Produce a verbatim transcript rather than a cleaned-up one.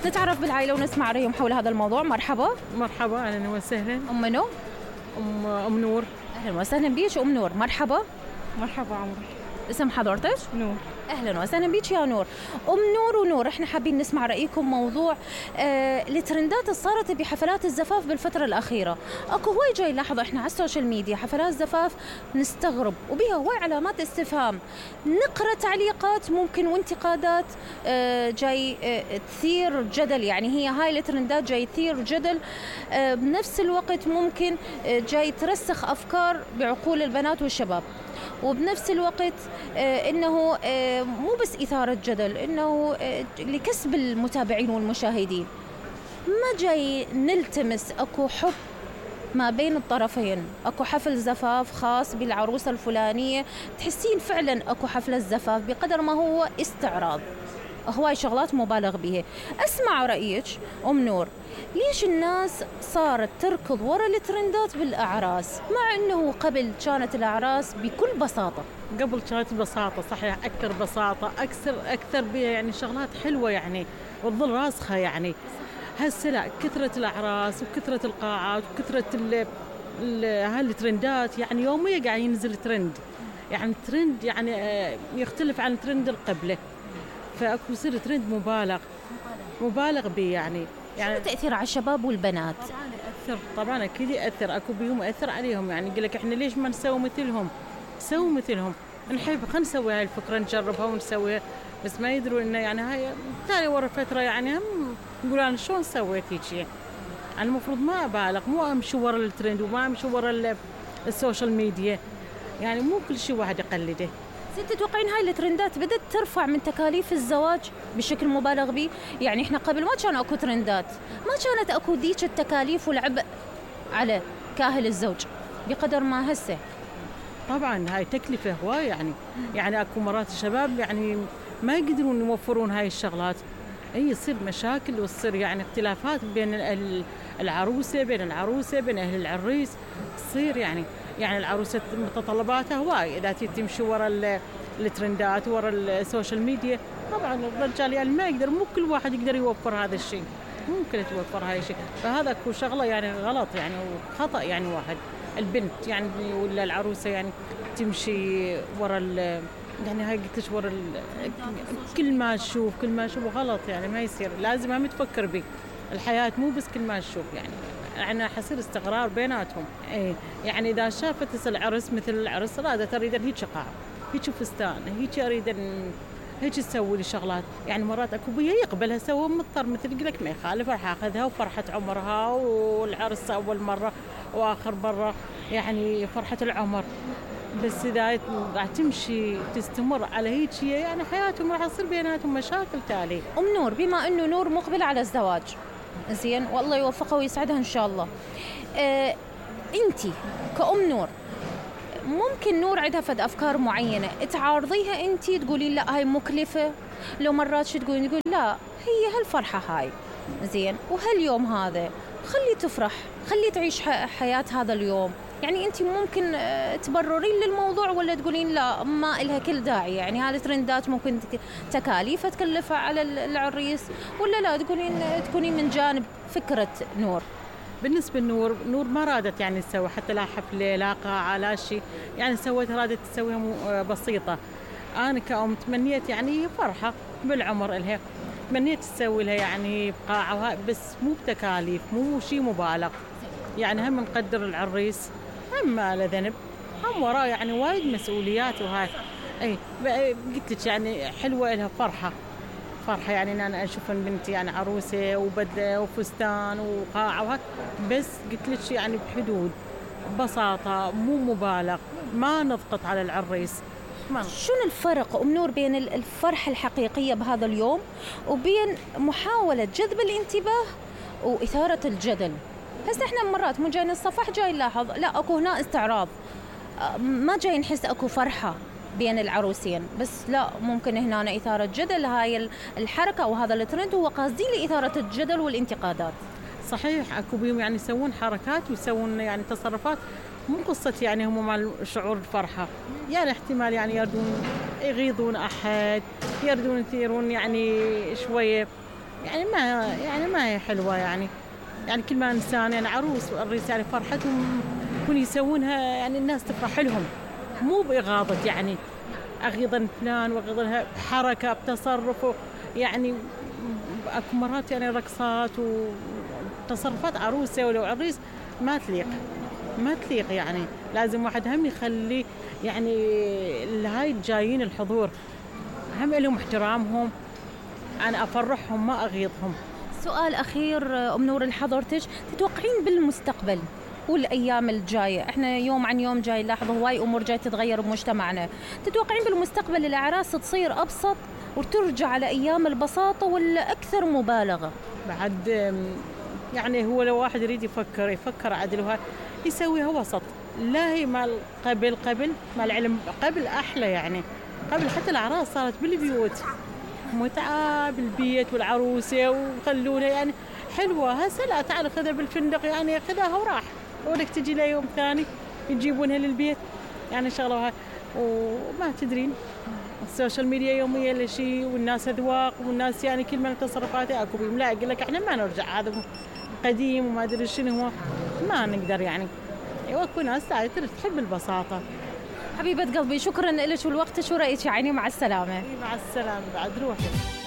نتعرف بالعائلة ونسمع رأيهم حول هذا الموضوع. مرحبا. مرحبا، أهلا وسهلا. أم منو؟ أم أم نور. أهلا وسهلا بيش أم نور. مرحبا. مرحبا عمري. اسم حضرتك؟ نور. أهلا وسهلا بيك يا نور. أم نور ونور، إحنا حابين نسمع رأيكم موضوع آه الترندات اللي صارت بحفلات الزفاف بالفترة الأخيرة. أكو هواي جاي نلاحظ إحنا على السوشيال ميديا حفلات زفاف نستغرب وبيها هواي علامات استفهام، نقرأ تعليقات ممكن وانتقادات آه جاي آه تثير جدل، يعني هي هاي الترندات جاي تثير جدل آه بنفس الوقت ممكن آه جاي ترسخ أفكار بعقول البنات والشباب، وبنفس الوقت آه إنه آه مو بس إثارة جدل، إنه آه لكسب المتابعين والمشاهدين. ما جاي نلتمس أكو حب ما بين الطرفين، أكو حفل زفاف خاص بالعروسة الفلانية، تحسين فعلا أكو حفلة زفاف بقدر ما هو استعراض، هواي شغلات مبالغ بها. أسمع رأيك أم نور، ليش الناس صارت تركض وراء الترندات بالأعراس مع أنه قبل كانت الأعراس بكل بساطة؟ قبل كانت بساطة صحيح، أكثر بساطة، أكثر أكثر بها يعني شغلات حلوة يعني وتظل راسخة يعني. هسه لا، كثرة الأعراس وكثرة القاعات وكثرة ال ال هالترندات، يعني يوميا قاعد ينزل ترند، يعني ترند يعني يختلف عن ترند القبله، فأكو يصير ترند مبالغ مبالغ به يعني. يعني شو تأثير على الشباب والبنات؟ طبعا يأثر، طبعا أكيد يأثر، أكو بيهم يأثر عليهم، يعني يقول لك إحنا ليش ما نسوي مثلهم؟ سووا مثلهم، نحب خلينا نسوي هاي الفكرة نجربها ونسويها، بس ما يدروا إنه يعني هاي تالي ورا فترة يعني هم يقول أنا شلون سويت هيك. يعني المفروض ما أبالغ، مو أمشي ورا الترند وما أمشي ورا السوشيال ميديا، يعني مو كل شيء واحد يقلده. ست تتوقعين هاي الترندات بدأت ترفع من تكاليف الزواج بشكل مبالغ به؟ يعني احنا قبل ما كان اكو ترندات، ما كانت اكو ذيك التكاليف والعبء على كاهل الزوج بقدر ما هسه. طبعا هاي تكلفة هواي يعني، يعني اكو مرات الشباب يعني ما يقدرون يوفرون هاي الشغلات، اي يصير مشاكل وتصير يعني اختلافات بين العروسة بين العروسة بين اهل العريس، تصير يعني يعني العروسة متطلباتها هواي إذا تمشي ورا الترندات ورا السوشيال ميديا. طبعا الرجال يعني ما يقدر، مو كل واحد يقدر يوفر هذا الشيء، ممكن توفر هاي الشيء، فهذا كو شغلة يعني غلط يعني وخطأ. يعني واحد البنت يعني ولا العروسة يعني تمشي ورا يعني هاي قلت لك ورا كل ما تشوف كل ما تشوف غلط، يعني ما يصير، لازم هم تفكر به الحياة مو بس كل ما تشوف. يعني يعني حصير استقرار بيناتهم. ايه يعني اذا شافت العرس مثل العرس رادة تريد هيك قاع هيك فستان هيك اريد هيك تسوي لي شغلات، يعني مرات اكو بيها يقبلها سوى مضطر مثل يقول لك ما يخالف راح اخذها وفرحة عمرها والعرس اول مرة واخر مرة يعني فرحة العمر. بس اذا راح تمشي تستمر على هيك يعني حياتهم راح يصير بيناتهم مشاكل تالي. ام نور، بما انه نور مقبلة على الزواج زين والله يوفقها ويسعدها ان شاء الله، اه انتي كأم نور ممكن نور عندها فد افكار معينه تعارضيها انتي تقولين لا هاي مكلفه، لو مرات شو تقولين تقول لا هي هالفرحه هاي زين وهاليوم هذا خلي تفرح خلي تعيش حياه هذا اليوم، يعني انتي ممكن تبررين للموضوع ولا تقولين لا ما إلها كل داعي، يعني هذه الترندات ممكن تكاليف تكلفها على العريس، ولا لا تقولين تكونين من جانب فكرة نور؟ بالنسبة لنور، نور ما رادت يعني تسوي حتى لا حفلة لا قاعة لا شيء، يعني سويت رادت تسويها بسيطة. أنا كأم تمنيت يعني فرحة بالعمر إلها، تمنيت تسوي لها يعني بقاعة بس مو بتكاليف، مو شيء مبالغ، يعني هم نقدر العريس هم ما له ذنب، هم وراه يعني وايد مسؤوليات وهاي. اي قلت لك يعني حلوة لها فرحة فرحة، يعني إن أنا أشوف إن بنتي يعني عروسة وبدلة وفستان وقاعة وهاك، بس قلت لك يعني بحدود بساطة مو مبالغ، ما نضغط على العريس. شنو الفرق أم نور بين الفرحة الحقيقية بهذا اليوم وبين محاولة جذب الانتباه وإثارة الجدل؟ هسه احنا مرات مو جاي الصفح جاي نلاحظ لا اكو هنا استعراض، ما جاي نحس اكو فرحة بين العروسين، بس لا ممكن هنا إثارة جدل. هاي الحركة وهذا الترند هو قاصدين لإثارة الجدل والانتقادات. صحيح اكو بيهم يعني يسوون حركات ويسوون يعني تصرفات مو قصة يعني هم مع شعور الفرحة، يعني احتمال يعني يردون يغيظون أحد، يردون يثيرون يعني شوية يعني ما يعني ما هي حلوة يعني. يعني كل ما إنسان يعني عروس والعريس يعني فرحتهم يكون يسوونها يعني الناس تفرح لهم، مو بإغاظة يعني أغيظا فلان وأغيظها بحركة بتصرف يعني. أكو مرات يعني رقصات وتصرفات عروسة ولو عريس ما تليق ما تليق يعني. لازم واحد هم يخلي يعني الهاي الجايين الحضور هم لهم احترامهم، أنا أفرحهم ما أغيظهم. سؤال أخير أم نور لحضرتك، تتوقعين بالمستقبل والأيام الجاية، إحنا يوم عن يوم جاي نلاحظ هواي أمور جاي تتغير بمجتمعنا، تتوقعين بالمستقبل الأعراس تصير أبسط وترجع لأيام البساطة ولا أكثر مبالغة؟ بعد يعني هو لو واحد يريد يفكر يفكر عدل وها يسويها وسط، لا هي مال قبل قبل مال العلم قبل أحلى يعني. قبل حتى الأعراس صارت بالبيوت متعة بالبيت والعروسة وخلونها يعني حلوة. هسه لا، تعال خذها بالفندق يعني خذها وراح ولك تجي لها يوم ثاني يجيبونها للبيت يعني شغلة. وما تدرين السوشيال ميديا يوميا لشيء والناس أذواق والناس يعني كل من تصرفاته أكو بيهم. لا يقول لك إحنا ما نرجع هذا قديم وما أدري شنو هو، ما نقدر يعني. واكو ناس تحب البساطة. حبيبة قلبي شكرا لك ولوقتك ورأيك يا عيني، مع السلامة. مع السلامة بعد روحي.